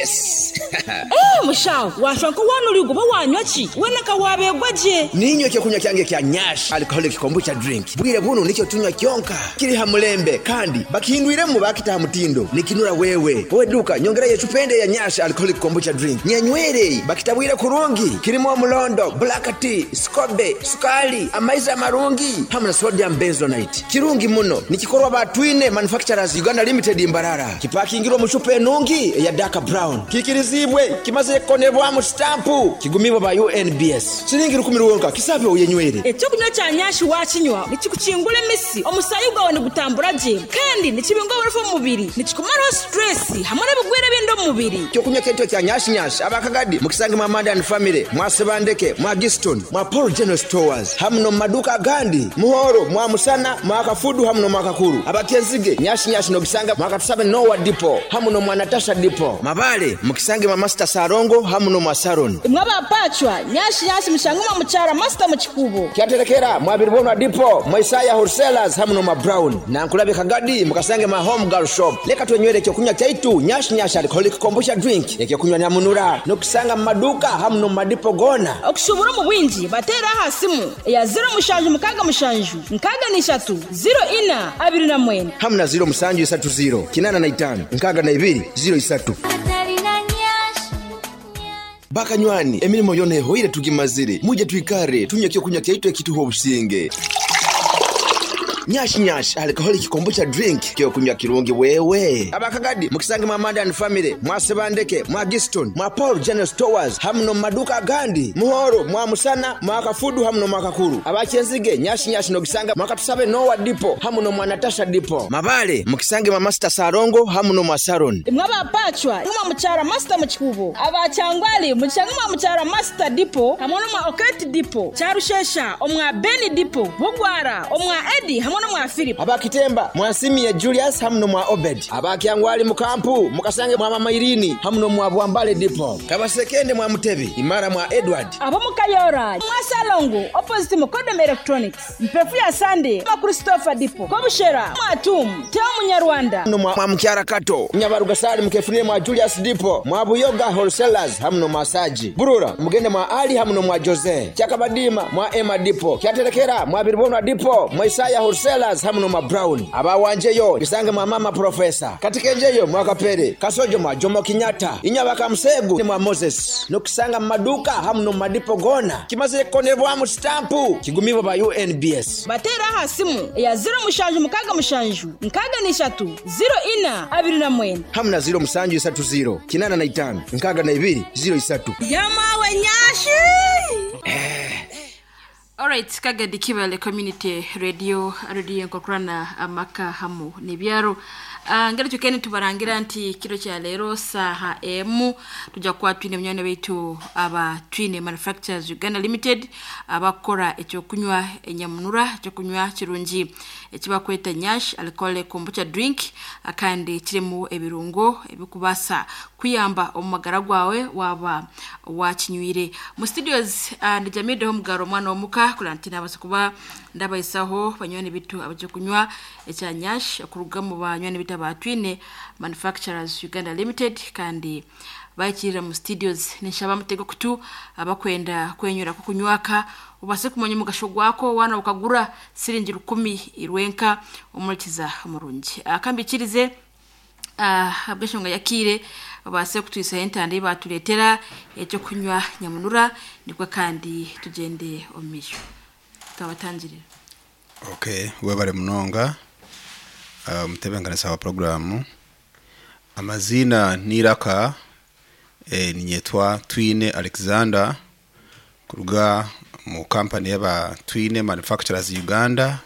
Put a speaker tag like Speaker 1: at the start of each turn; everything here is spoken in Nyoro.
Speaker 1: Yes.
Speaker 2: Eh, mushaho washwa nkowanurigo oba wanywa ki wena wabegwa gye.
Speaker 1: Ninywa ekyokunywa kyange kya Nyash Alcoholic Kombucha drink. Bwire buno nikyo tunywa kyonka kiri ha mulembe, kandi bakihindwiremu bakita ha mutindo nikinura. Wewe wowe duka nyongerayo ecupende ya Nyash Alcoholic Kombucha drink nyenywere. Bakitabwire kurungi, kirimo omulondo, black tea, scobe, sukali, amaizi amarungi hamwe na sodium benzoate. Kirungi muno, nikikorwa batwine Manufacturers Uganda Limited, Mbarara. Kipakingirwa mu cupa enungi eya dark brown, kikirizibwe, kimaze kukonebwamu stampu, kigumibwa ba UNBS. Silingi 10 rwonka. Kisabe uyenywere.
Speaker 2: Ekyokunywa kya Nyashi wakinywa nikikukingura emisi, omusayi gwawe nigutambura gye kandi nikibinga oburofa omu mubiri, nikikumaraho stress hamwe n'ebigwire ebindi omu mubiri.
Speaker 1: Kyokunywa kyaitu kya Nyashi Nyash, abakagadi mukisange mwa Mandan Family, mwa Sebandeke, mwa Giston, mwa Paul General Stores hamu no maduka agandi, Muhoro mwa Musana, mwa Kafudu hamu no mwa Kakuru. Abakenzige, Nyashi Nyash nogisanga mwa Katusabe Nowa Dipo hamu no mwa Natasha Dipo. Mabale mukisange mwa Master Sarongo hamu no mwa Saron.
Speaker 2: Imwe abapacwa, Nyashi Nyashi mushange mwa mukyara Master mu Kikubo.
Speaker 1: Kyaterekera mwa Biribonwa Dipo, mwa Isaya Wholesalers hamu no mwa Brown. Nankulabye Kagadi mukasange mwa Home Girl Shop. Leka twenywere ekyokunywa kyaitu Nyash Nyash Alcoholic Kombucha drink, ekyokunywa nyamunura, nokusanga mu maduka hamu no mu madipo gona.
Speaker 2: Okushubura omu bwingi bateera aha simu eya 0767 63 0429.
Speaker 1: Hamu na 0730 85 62 03. Bakanywani, emirimo yona ehoire tugimazire, muje twikare tunywe ekyokunywa kyaitu ekituha obusinge, Nyash Nyash Alcoholic Kombucha drink, kyokunywa kirungi wewe. Abakagadi mukisange mwa Mandan Family, mwa Sebandeke, mwa Giston, mwa Paul General Stores hamu no maduka agandi, Muhoro mwa Musana, mwa Kafudu hamu no mwa Kakuru. Abakenzige, Nyash Nyash nogisanga mwa Katusabe Nowa Dipo hamu no mwa Natasha Dipo. Mabale mukisange mwa Master Sarongo hamu no mwa Saron.
Speaker 2: Imwe abapacwa mwa mukyara Master mu Kikubo, abakyangwali mukyanga mwa mukyara Master Dipo hamwe n'omwa Oketi Dipo, Kyarushesha omwa Beni Dipo, Bugwara omwa Edi hamwe n'omwa Philip.
Speaker 1: Abakitemba mwansimiye Julius hamu no mwa Obed. Abakyangwali mukampu mukasange mwa Mama Irini hamu no mwa Bwambale Dipo. Kabasekende mwa Mutebi, Imara mwa Edward.
Speaker 2: Ab'omukayora mwa Salongo opposite Mukodom Electronics, Mpefu ya Sande mwa Christopher Dipo, Kobushera mwa Tum Teo Munyarwanda.
Speaker 1: No mwa Mukyara Kato, Nyabarugasali mukefunire mwa Julius Dipo, mwa Buyoga Wholesalers hamu no mwa Saji Burura, mugende mwa Ali hamu no mwa Jose Kyakabadima, mwa Emma Dipo, Kyaterekera mwa Biribonwa Dipo, mwa Isaya Wholesalers hamu no mwa Brown. Abawanjeyo isange mwa Mama Profesa, Katikenjeyo mwa Kapere, Kasojo mwa Jomo Kenyatta, Inyabaka Musegu mwa Moses, nokusanga mu maduka hamu no mu madipo gona. Kimaze kukonebwamu stampu, kigumibwa ba UNBS.
Speaker 2: Bateera aha simu eya 0767 63 0429.
Speaker 1: Hamu na 0730 85 62 03.
Speaker 2: Yamawe Nyashi.
Speaker 3: Alright, Kagadi Kibale Community Radio, radio enkokurana amaka hamu nebyaro. Ngeri tukeni tubarangira nti kiro kya leero saha emu tujja kuba twine munywani waitu aba Twine Manufacturers Uganda Limited, abakora ekyokunywa enyamunura, ekyokunywa kirungi ekibakweta Nyash Alcoholic Kombucha drink, kandi kirimu ebirungo ebikubasa kuyamba omu magara gwawe waba wakinywire. Mu studios ndijamideho mugaro omwana omuka kulantina abasa kuba ndabayisaho banywani bitu abaje kunywa ekya Nyash okuruga mu banywani bitu aba Twine Manufacturers Uganda Limited, kandi bakirira mu studios. Nishaba mutego kutu abakwenda kwenyura ko kunywaka ubase kumenya umugasho gwako wana ukagura siringi 10 irwenka umurikiza umurungi akambikirize abweshonga yakire base kutwisa entande batuletera ekyo kunywa nyamunura, nibwo kandi tugende omisho twabatangirira.
Speaker 4: Okay, webale munonga mutebenkanisa wa programu. Amazina niraka ninyetwa Twine Alexander kuruga mu company yaba Twine Manufacturers Uganda.